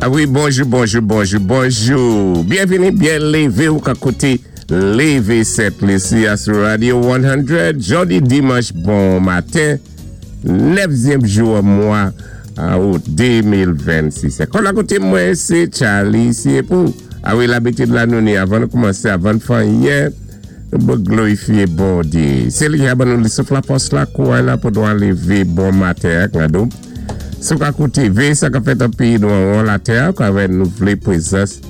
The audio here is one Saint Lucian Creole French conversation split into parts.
A wi, bonjou, bonjou, bonjou, bonjou. Byenvini, byen lévé ou ka kouté Lévé Sent Lisi a sou Radio 100. Jòdi dimanch bon maten, 9zyèm jou mwa out 2026. Kon akoté mwen, sé Charlie Siepou. A wi, labitid la nou ni avan nou koumansé, avan fè anyen, nou glorifié Bondyé. Sé li ki ban nou souf la, fòs la, kouray la pou nou lévé bon maten ak nou. Sou ka kouté véyé sa k ap fèt an péyi nou an latè, ka wè nou vlé pwézans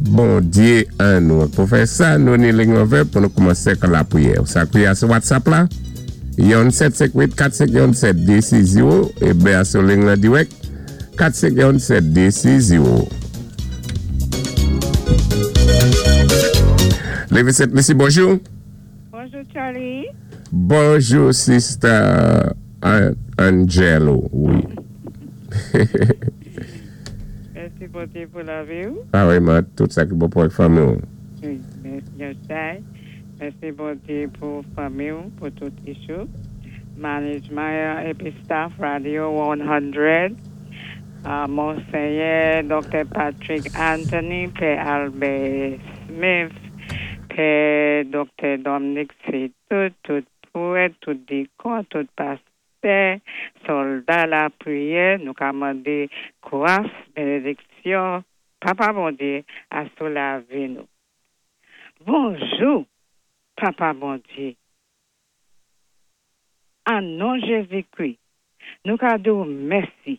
Bondyé an nou. Pou fè sa, nou ni liy ouvè pou nou koumansé ak lapriyè. Sa ki sou WhatsApp la, 1 758 451 7260 é byen sou liy la dirèk 451 7260. Lévé Sent Lisi, bonjou. Bonjou, Charlie. Bonjou, Sister Angelo. Wi. Mèsi Bondyé pou lavi. A wi, man, tout sa ki bon pou fanmi. Wi, mèsi, Mèsi Bondyé pou fanmi, pou tout issue. Management épi staff Radio 100. Monseyè Dr. Patrick Anthony, Pè Albert Smith, Pè Dr. Dominic tout, tout pwèt, tout dikon, tout pastè, sòlda lapriyè, nou ka mandé gras, bénédiksyon, Papa Bondyé, asou lavi nou. Bonjou, Papa Bondyé. An non Jézi-Kri, nou ka di mèsi.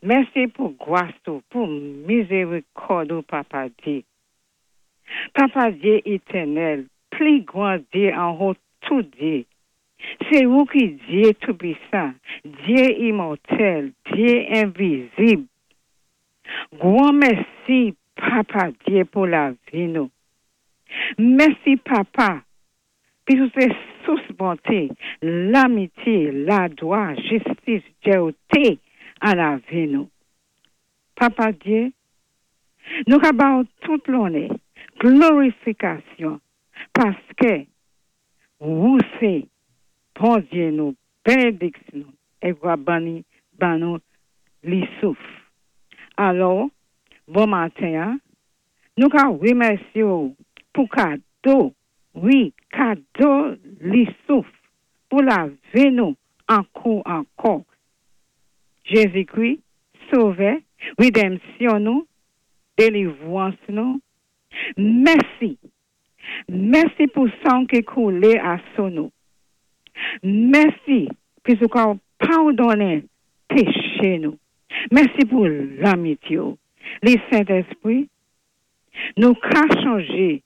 Mèsi pou gras ou, pou mizérikòd ou, Papa Dyé. Papa Dyé étènèl, pli gwan Dyé anwo tout Dyé. Sé ou ki Dyé Toupisan, Dyé imòtèl, Dyé envizib. Gwan mèsi, Papa Dyé, pou lavi nou. Mèsi, Papa, pi ou sé sous bonté, lamitié, ladwa, jistis, djèwté an lavi nou. Papa Dyé, nou ka ba tout lonè, glorifikasyon, paské ou sé Bondyé nou, bénédiksyon nou, é ou ban ban nou li souf. Alò, bon maten, en, nou ka remèsyé pou kado, wi, kado li souf, pou lavi nou ankò ankò. Jézi-Kri, Sovè, rédanmsyon nou, délivrans nou. Mèsi. Mèsi pou san ki koulé asou nou. Mèsi pou ou padonnen péché nou. Mèsi pou lamitié. Li Sentespwi, nou ka chanjé.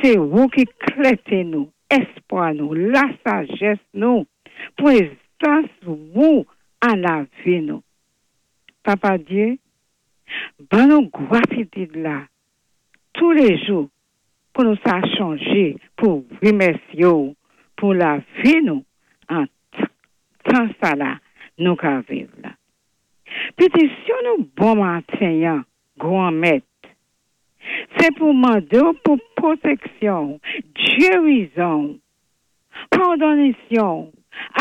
Sé ou ki klèté nou, espwa nou, lasajès nou, pwézans ou an lavi nou. Papa Dyé, ban nou gratitid la tou lé jou pou nou sa chanjé, pou remèsyé pou lavi nou an tan sa la nou ka viv la. Pétisyon nou bon maten, Gwan Mèt, sé pou mandé pou pwotéksyon, gérizon, padonisyon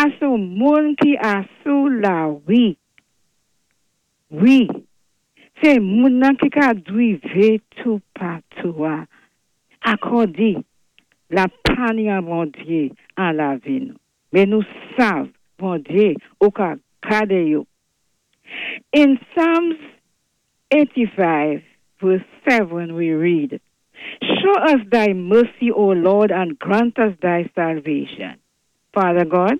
asou moun ki asou lari. Wi, sé moun nan ki ka drivé toupatou a. Akòdé la pani an Bondyé an lavi nou. Mé nou sav, Bondyé, ou ka gadé yo. In Psalms 85, verse 7, we read, "Show us thy mercy, O Lord, and grant us thy salvation." Father God,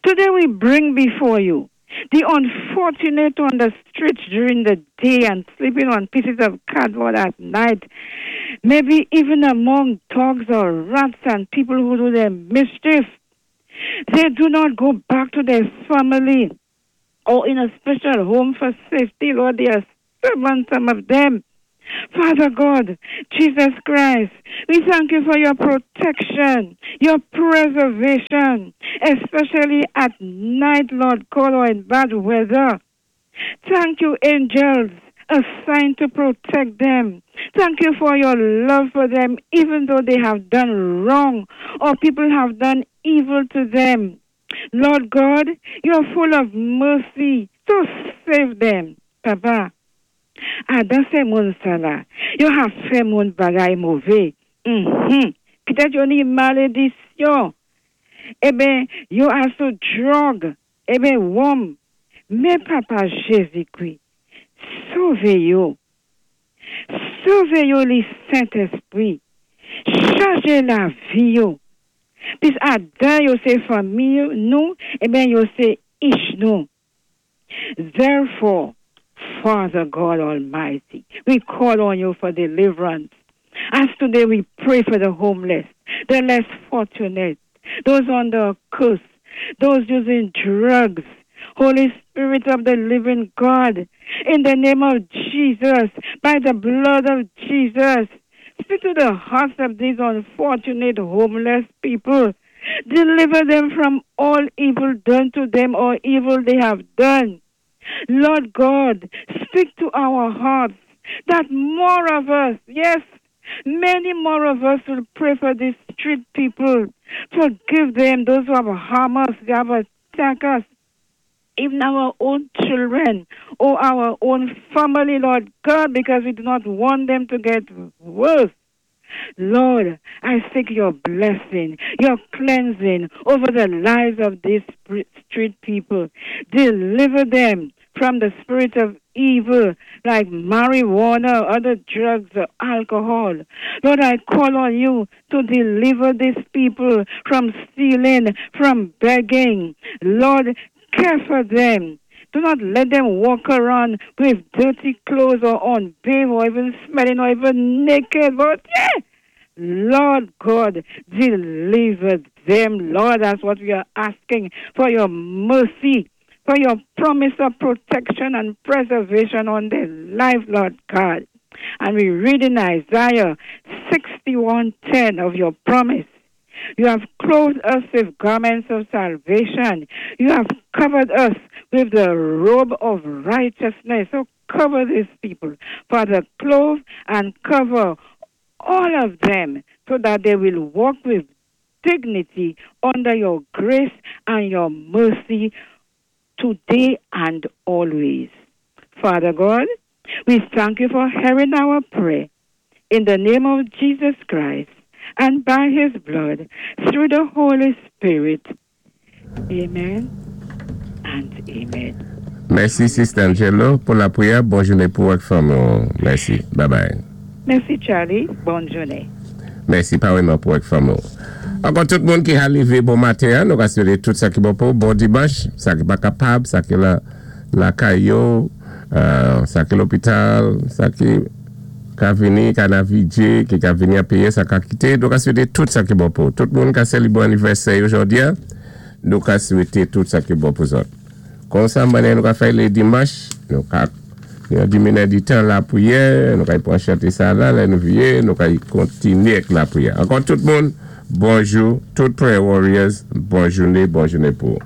today we bring before you the unfortunate on the streets during the day and sleeping on pieces of cardboard at night, maybe even among dogs or rats and people who do their mischief. They do not go back to their family or in a special home for safety, Lord. They are stubborn, some of them. Father God, Jesus Christ, we thank you for your protection, your preservation, especially at night, Lord God, or in bad weather. Thank you, angels assigned to protect them. Thank you for your love for them, even though they have done wrong or people have done evil to them. Lord God, you are full of mercy, so save them, Papa. Adan sé moun sa-la, yo ka fè moun bagay mové. Pitèt yo ni malédiksyon. Eben, yo asou drug, eben wonm. Men Papa Jézikwi, sové yo. Sové yo li Sentéspwi. Chanjé lavi yo. Pis adan yo sé fanmi nou, eben yo sé ich nou. Therefore, Father God Almighty, we call on you for deliverance. As today we pray for the homeless, the less fortunate, those under a curse, those using drugs. Holy Spirit of the living God, in the name of Jesus, by the blood of Jesus, speak to the hearts of these unfortunate homeless people. Deliver them from all evil done to them or evil they have done. Lord God, speak to our hearts that more of us, yes, many more of us will pray for these street people. Forgive them, those who have harmed us, who have attacked us, even our own children or our own family, Lord God, because we do not want them to get worse. Lord, I seek your blessing, your cleansing over the lives of these street people. Deliver them from the spirit of evil like marijuana, other drugs, or alcohol. Lord, I call on you to deliver these people from stealing, from begging. Lord, care for them. Do not let them walk around with dirty clothes or unbathed or even smelling or even naked. But yeah, Lord God, deliver them. Lord, that's what we are asking for your mercy, for your promise of protection and preservation on their life, Lord God. And we read in Isaiah 61:10 of your promise. You have clothed us with garments of salvation. You have covered us with the robe of righteousness. So cover these people. Father, clothe and cover all of them so that they will walk with dignity under your grace and your mercy today and always. Father God, we thank you for hearing our prayer. In the name of Jesus Christ and by his blood, through the Holy Spirit. Amen and amen. Mèsi, Sister Angelo, pou lapwiyè. Bon jouné pou ak fanmi. Mèsi. Bye bye. Mèsi, Charlie. Bòn jouné. Mèsi, parèyman pou ak fanmi. Ankò tout moun ki lévé bon maten, en, nou ka swété tout sa ki bon pou bon dimanch, sa ki pa kapab, sa ki la lakay yo, sa ki lopital, sa ki ka vini, ka nan vidjé, ki ka vini a péyé, sa ka kité, nou ka swété tout sa ki bon pou. Tout moun ka sélébwé anivèsè jòdi a, nou ka swété tout sa ki bon pou zòt. Konsa, nou ka fè lé dimanch, nou ka nou di tan lapwiyè, nou ka pran chanté sa la, lè nou vyé, nou ka kontinyé avèk lapwiyè. Ankò tout moun, bonjou, tout prayer warriors, bon jouné, bon jouné pou.